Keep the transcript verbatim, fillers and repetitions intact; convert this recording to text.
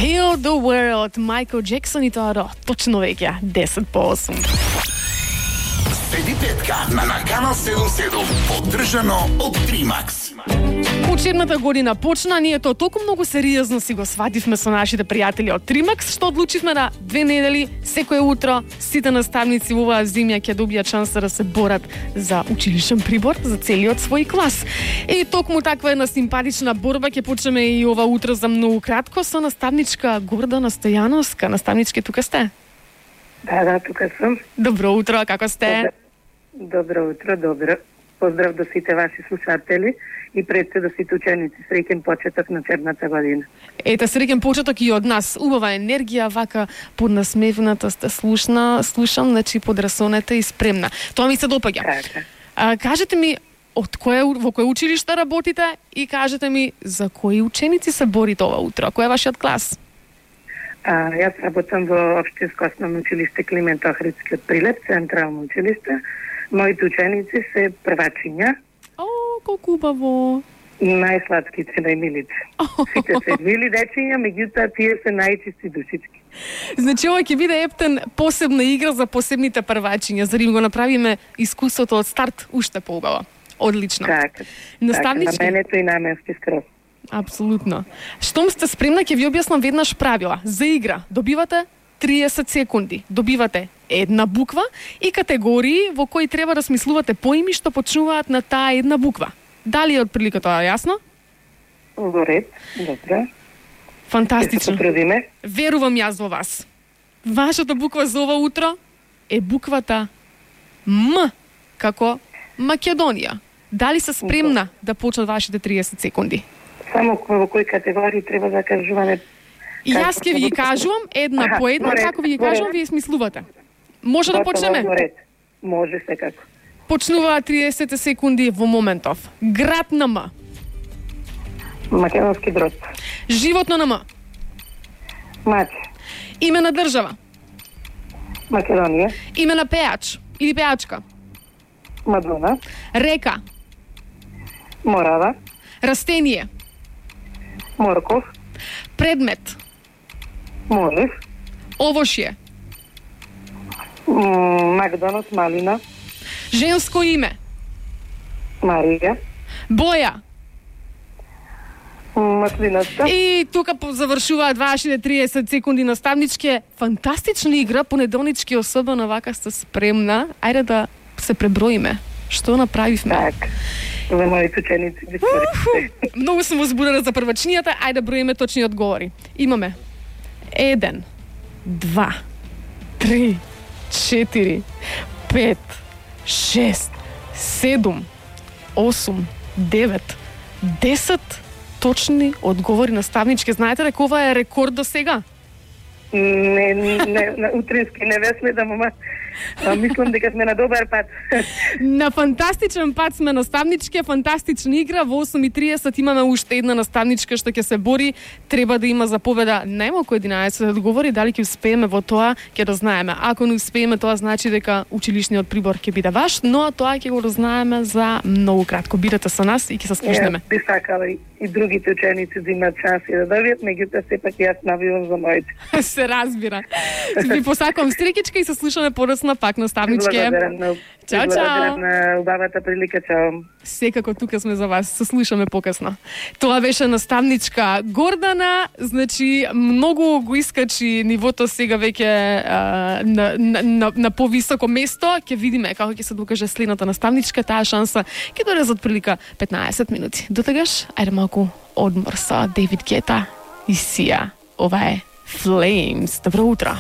Heal the World, Майкл Джексон и тоа до точно веќе десет по осум. Седи петка на Наканал седум седум, поддржано од Тримакс. Учебната година почна, ние тоа толку многу сериозно си го свативме со нашите пријатели од Тримакс, што одлучивме да две недели, секое утро, сите наставници во оваа зимја ќе добијат шанса да се борат за училишен прибор за целиот свој клас. И токму таква една симпатична борба ќе почнеме и ова утро за многу кратко со наставничка Гордана Стојановска. Наставнички, тука сте? Да, да, тука сум. Добро утро, како сте? Добро утро, добро. Поздрав до сите ваши слушатели и пред се до сите ученици. Среќен почеток на учебната година. Ете, среќен почеток и од нас. Убава енергија, вака поднасмевната сте слушна, слушам, значи подрасонета и спремна. Тоа ми се допаѓа. Така. А, кажете ми, од кое, во кој училиште работите и кажете ми за кои ученици се борите ова утро? Кој е вашиот клас? А, јас работам во Општинско основно училиште Климент Охридски од Прилеп, централно училиште. Моите ученици се првачиња. О, колку убаво. Најсладките, најмилите. Сите се мили дечиња, меѓутоа тие се најчисти душички. Значи, ова ќе биде ептен посебна игра за посебните првачиња, за да им го направиме искуството од старт уште поубаво. Одлично. Така. Наставнички? Така, на менето и наменски скроз. Апсолутно. Штом сте спремна, ќе ви објаснам веднаш правила. За игра добивате триесет секунди. Добивате една буква и категории во кои треба да смислувате поими што почнуваат на таа една буква. Дали е од прилика тоа јасно? Во ред, добро. Фантастично. Се Верувам јас во вас. Вашата буква за ова утро е буквата М, како Македонија. Дали се спремна да почнат вашите триесет секунди? Само во кои категории треба да кажуваме? И јас ќе ви ги кажувам една Аха, по една, поред, како ви ги кажувам, поред. вие смислувате. Може да почнеме? Може секако. Почнуваат триесет секунди во моментов. Град на М. Македонски Брод. Животно на М. Мач. Име на држава. Македонија. Име на пеач или пеачка. Мадона. Река. Морава. Растение. Морков. Предмет. Молив. Овошје. Макдонот, малина. Женско име. Марија. Боја. Маслината. И тука завршуваат вашите триесет секунди наставнички. Фантастична игра, понеделнички особено вака сте спремна. Ајде да се преброиме. Што направивме? Так. За моите ученици. Многу сум возбудена за првачнијата. Ајде да броиме точни одговори. Имаме еден, два, три, четири, пет, шест, седум, осум, девет, десет точни одговори наставнички. Знаете дека ова е рекорд до сега? Не, не, на утрински не ве следам, ама мислам дека сме на добар пат. На фантастичен пат сме наставнички, фантастична игра. Во осум и триесет имаме уште една наставничка што ќе се бори. Треба да има за победа најмалку единаесет одговори. Дали ќе успееме во тоа, ќе да знаеме. Ако не успееме, тоа значи дека училишниот прибор ќе биде ваш, но тоа ќе го разнаеме за многу кратко. Бидете со нас и ќе се слушнеме. Би сакала и, и другите ученици да имаат шанси да добијат, меѓутоа сепак јас навивам за моите. Се разбира. Ви посакувам стрекичка и се слушаме подоцна пак наставнички. Благодарам на Чао, чао. на убавата прилика, чао. Секако тука сме за вас, се слушаме покасно. Тоа беше наставничка Гордана, значи многу го искачи нивото сега веќе а, на, на, на, на повисоко место. Ќе видиме како ќе се докаже следната наставничка, таа шанса ќе дојде за отприлика петнаесет минути. Дотогаш, ајде малку одмор со Дейвид Гета и Сија. Ова е Flames. Добро утро.